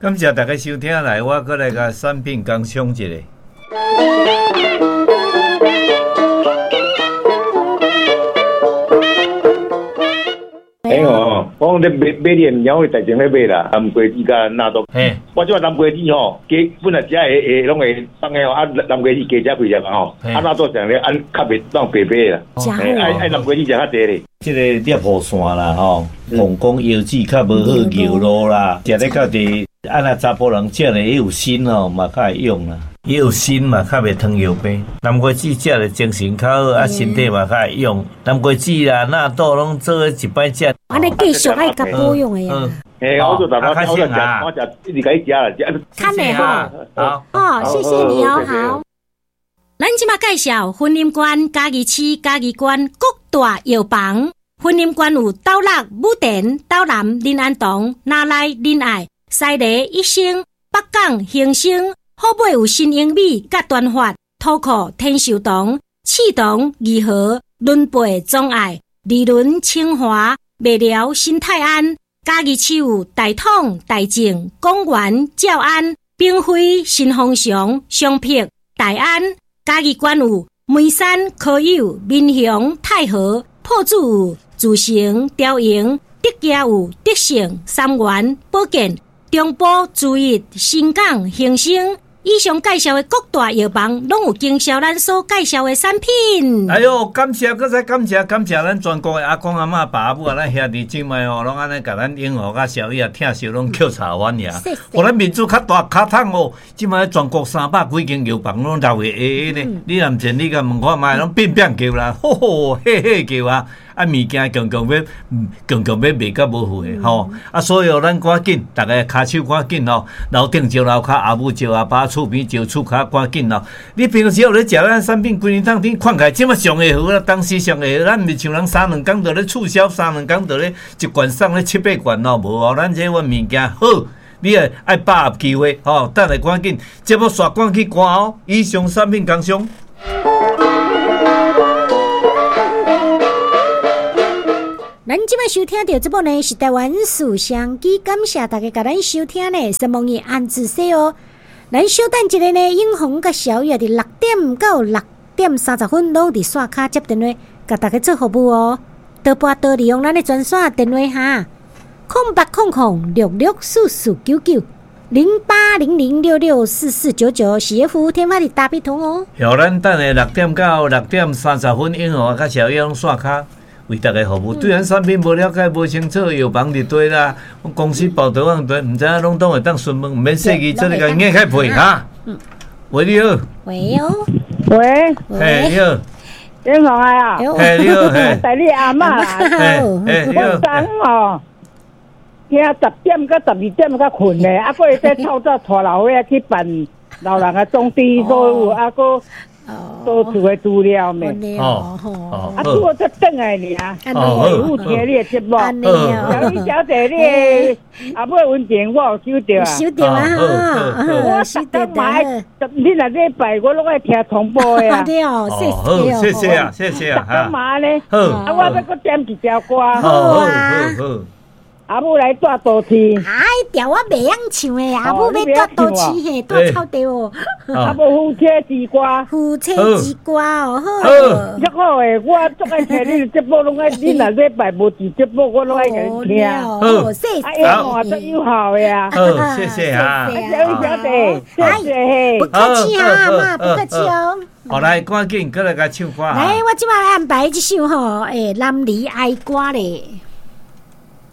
感謝大家收聽來，我閣來共產品工商一下。欸吼，我講咧買買你的物件，我大前咧買啦，南瓜子佮納豆。嘿，我這擺南瓜子吼，加本來食會會攏會放的吼，啊南瓜子加食幾粒嘛吼，啊納豆上咧按較袂當白白啦。食好愛愛南瓜子食較濟咧。這個攝護腺啦吼，膀胱腰子較無好尿路啦，食咧較濟，啊若查埔人食咧伊有鋅吼，嘛較會勇啦。伊有鋅嘛，較袂糖尿病。南瓜子食咧精神較好，啊身體嘛較會勇。南瓜子啦、納豆攏做伙一擺食。按呢繼續愛共保養的呀。嘿，我做逐擺我食，我食一直共伊食啦，食。看嘞吼，好，哦，謝謝你哦，好。咱這馬介紹雲林縣嘉義市嘉義縣各大藥房。雲林縣有斗六、武田、斗南、林安堂、那內、仁愛、西螺、一生、北港、興盛。好尾有新英美、佮端發、土庫、天壽堂、刺桐、義和、崙背、忠愛、二崙、清華、麥寮、新泰安。嘉義市有大統、大正、廣元、兆安、炳輝、新豐祥、松碧、大安。嘉義縣有梅山、科友、民雄、太和、朴子有自成、朝營、德家有德勝、三元、寶建、中埔、竹一、新港、興盛。以上介紹的各大藥房，攏有經銷咱所介紹的產品。哎喲，感謝，閣再感謝，感謝咱全國的阿公阿嬤、爸阿母啊，咱兄弟姊妹哦，攏按呢共咱永和佮小雨啊，疼惜攏扣柴阮爾。予咱面子較大較通哦，這擺全國300幾間藥房攏鬧會會會呢。你若毋信，你共問看覓，攏變變叫啦，吼吼嘿嘿叫啊！啊，物件強強欲，強強欲賣甲無貨的吼。啊，所以哦，咱趕緊，逐家跤手趕緊吼，樓頂招樓跤，阿母招阿爸，厝邊招厝跤，趕緊吼。你平時有咧食咱產品，規年當天看起來這麼上會好啦，當時上會好，咱毋是像人三兩工就咧促銷，三兩工就咧一罐送咧七八罐哦，無哦，咱這款物件好，你愛愛把握機會吼，等下趕緊，節目煞趕去關哦。以上產品工商。咱這擺收聽著這部呢是台灣事商機，感謝大家共咱收聽呢，什麼伊安子說哦。咱小等一下呢，永紅佮小雨佇6點到6點30分攏佇線跤接電話，共大家做服務哦。多撥多利用咱的專線電話哈，0800664499，0800664499是服務天發的大筆通哦。好，咱等下6點到6點30分，永紅佮小雨攏線跤。為大家服務，對咱產品無了解、無清楚，藥房佇佗啦，公司報道往佗，毋知影攏總會當詢問，毋免細記，做咧共硬開配哈。喂，你好。喂哦。喂。嘿，你好。永紅啊。嘿，你好。嘿。帶你阿嬤。嘿，你好。我昨昏吼，聽10點到12點才睏咧，啊，閣會使透早帶老歲仔去辦老人的總支所有，啊，閣。多厝的資料咩？哦，啊，拄好才轉來爾，有聽你的節目。小雨小姐，你的阿母溫情我有收著啊。收著啊！我逐工嘛愛，你若禮拜我攏愛聽重播的啊。對哦，謝謝，謝謝啊，謝謝啊。逐工嘛按呢，啊，我欲閣點一條歌。好啊。阿母來蹛都市。哎，條我袂曉唱的，阿母欲蹛都市嘿，蹛草地哦。阿母夫妻之歌。夫妻之歌哦，好。足好的，我足愛聽你的節目，攏愛你若禮拜無佇節目，我攏愛共你聽。好，謝謝。啊，嘛足有效的啊。好，謝謝啊。小雨小姐，謝謝。不客氣啊，阿嬤，不客氣哦。好，來，趕緊閣來共唱歌。來，我這擺安排這首吼，欸，男兒哀歌咧。